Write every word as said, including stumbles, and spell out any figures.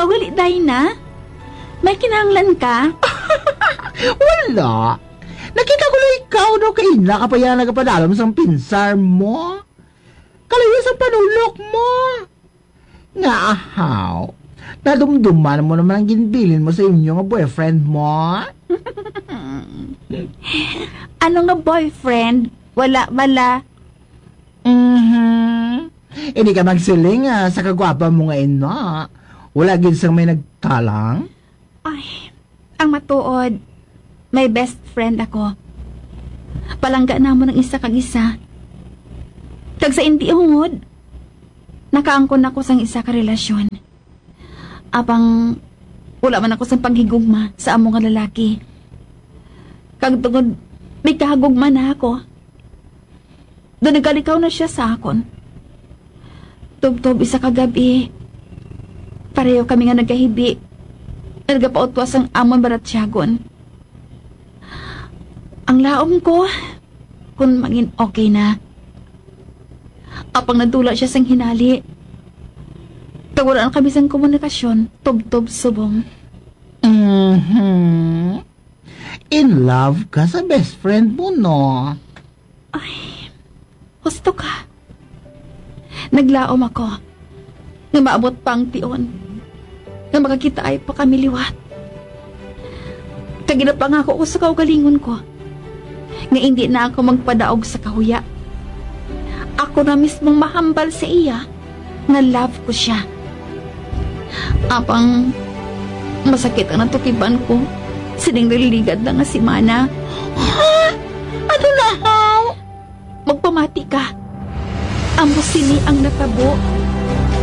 Gali, Dina? May kinahanglan ka? Wala. Nakita ko na ikaw daw kay ina ka pa yan nagapadalom sang pinsar mo. Kalayo sa panulok mo. Nga ahaw. Nadumduman mo naman ang ginbilin mo sa inyo nga boyfriend mo. Ano nga boyfriend? Wala, wala. Mhm. Hindi ka magsiling ah, sa kagwapa mo nga ina. Wala gid sang may nagtalang. Ay, ang matuod, may best friend ako. Palangga namon ang isa kag isa. Kag sa indi hungod, nakaangkon ako sang isa ka relasyon. Apang wala man ako sang paghigugma sa amo nga lalaki. Kag tungod may kahagugma na ako, do nagalikaw na siya sa akon. Tubtob isa ka gab-i, pareho kami nga nagahibi, nagapautwas ang amon balatyagon. Ang laom ko, kung mangin okay na. Apang nadula siya sang hinali. Kag wala na kami sang komunikasyon, tubtob subong. Mhm. In love ka sa best friend mo, no? Husto ka. Naglaom ako nga maabot pa ang tion nga makakitaay pa kami liwat. Kag ginapangako ko sa kaugalingon ko nga indi na ako magpadaog sa kahuya. Ako na mismong mahambal sa iya nga love ko siya. Apang masakit ang natukiban ko sining naliligad na nga semana. Ha? Ano na, haw? Magpamati ka. Amo sini ang natabo